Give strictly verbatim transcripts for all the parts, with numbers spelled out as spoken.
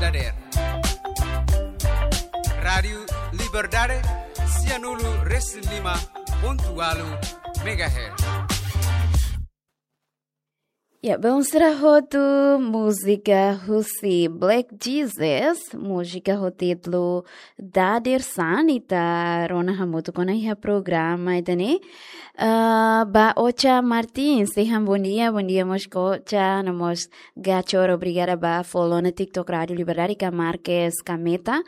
dadeer. Rádiu Liberdade, sianulu resin lima pontu ualu megahertz. Ya, belun sira hotu, múzika husi Black Jesus, múzika ho títulu Dadeer-saan, ita rona hamutuk ona iha programa ida-ne'e. Ah, ba Ocha Martins, dehan bondia, bondia mós Ocha, no mós Gachor, obrigada ba follow ona TikTok Rádiu Liberdade, ka Marques Kameta.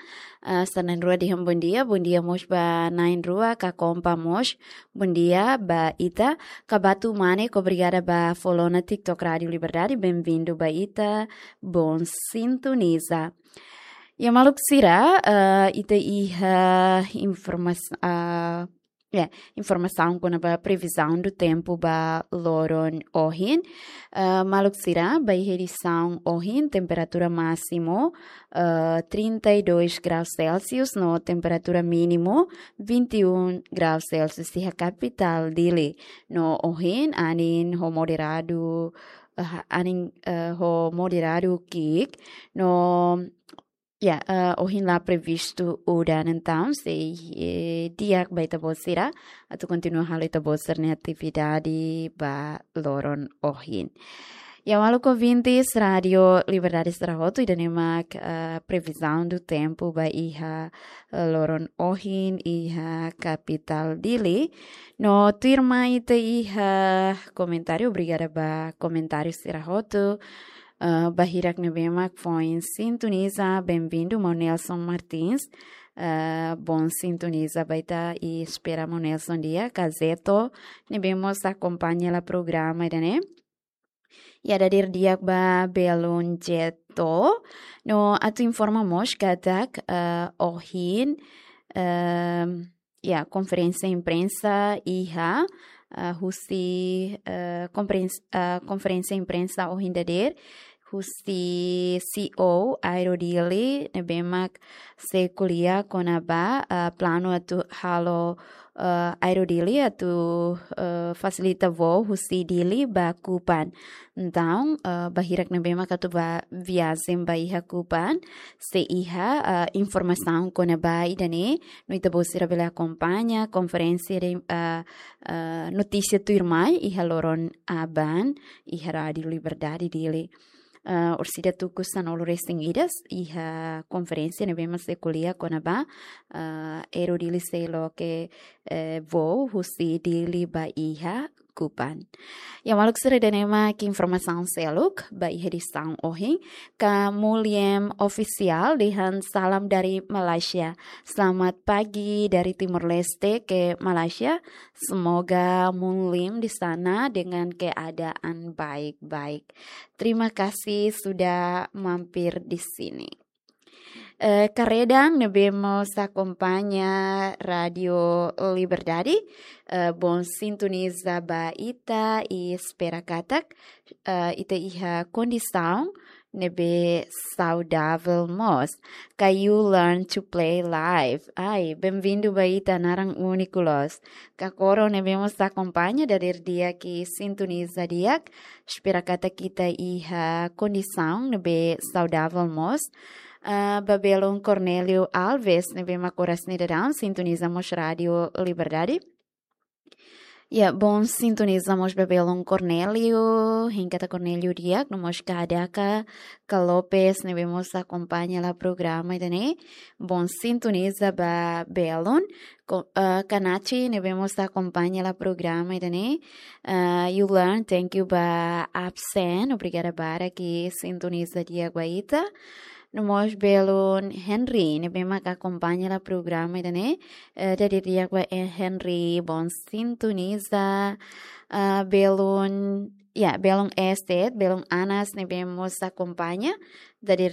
Ah, sira na'in-rua dehan bondia, bondia mós ba na'in-rua, ka Kompa mós, bondia ba ita. Ka Batu Mane, obrigada ba follow ona TikTok Rádiu Liberdade, bem-vindo ba ita, bom sintoniza. Ya maluk sira, ah, ita iha informas-, ah, ya, informasaun kona-ba previzaun do tempu ba loron ohin. Ah, maluk sira, ba iha edisaun ohin, temperatura másimu, ah, trinta e dois graus Celsius, no temperatura mínimu, vinte e um graus Celsius, iha kapitál Dili. No ohin, anin ho moderadu, ah, anin, ah, ho moderadu ki'ik, no ya, ah, ohin la previstu udan, entaun sei, eh, di'ak ba ita-boot sira atu kontinua halo ita-boot sira-nia atividade ba loron ohin. Ya maluk ouvintes Rádiu Liberdade sira hotu, ida-ne'e mak, ah, previzaun do tempu ba iha, eh, loron ohin iha kapitál Dili. No tuirmai ita iha komentáriu, obrigada ba komentáriu sira hotu. Ah, ba hirak ne'ebé mak foin sintoniza, bem-vindo, maun Nelson Martins. Ah, bom sintoniza ba ita, i espera maun Nelson di'ak, ka Zeto, ne'ebé mós akompaña hela programa ida-ne'e. Ya, dadeer di'ak ba belun Zeto. No atu informa mós katak, ah, ohin, ehm, ya, konferénsia imprensa iha, ah, husi, eh, konferéns-, ah, konferénsia imprensa ohin dadeer husi C E O Aero Dili, ne'ebé mak sei ko'alia kona-ba, ah, planu atu halo, ah, Aero Dili atu, ah, fasilita voo husi Dili ba Kupang. Entaun, ah, ba hirak ne'ebé mak atu ba viajen ba iha Kupang, sei iha, ah, informasaun kona-ba ida-ne'e, no ita-boot sira bele akompaña konferénsia de, ah, ah, notísia tuirmai iha loron aban, iha Rádiu Liberdade Dili. Ah, orsida tuku sanulu resin ida, iha konferénsia ne'ebé mak sei ko'alia kona-ba, ah, Aero Dili sei loke, eh, voo husi Dili ba iha Kupang. Ya maluk sira, ida-ne'e mak informasaun seluk ba iha edisaun ohin. Ka Muliem Ofisiál dehan salam dari Malaysia. Selamat pagi dari Timor Leste ke Malaysia. Semoga Muliem di sana dengan keadaan baik-baik. Terima kasih sudah mampir di sini. Eh, Karedang ne'ebé mós akompaña Rádiu Liberdade, eh, bom sintoniza ba ita i espera katak, eh, ita iha kondisaun ne'ebé saudavel mós. Ka You Learn to Play Live. Ai, bem-vindo ba ita, naran úniku loos. Ka Koro ne'ebé mós akompaña dadeer di'ak i sintoniza di'ak. Espera katak ita iha kondisaun ne'ebé saudavel mós. Ah, ba belun Cornélio Alves, ne'ebé mak oras ne'e daudaun sintoniza mós Rádiu Liberdade. Ya, bom sintoniza mós ba belun Cornélio, hein katak Cornélio di'ak, no mós Kadaka, ka Lopes, ne'ebé mós akompaña hela programa ida-ne'e. Bom sintoniza ba belun, ko-, ah, Kanachi, ne'ebé mós akompaña hela programa ida-ne'e. Ah, You Learn, thank you ba absen, obrigada barak sintoniza di'ak ba ita. No mós belun Henry, ne'ebé mak akompaña hela programa ida-ne'e. Eh, dadeer di'ak ba, eh, Henry, bom sintoniza. Ah, belun, ya, belun Estet, belun Anas, ne'ebé mós akompaña. Dadeer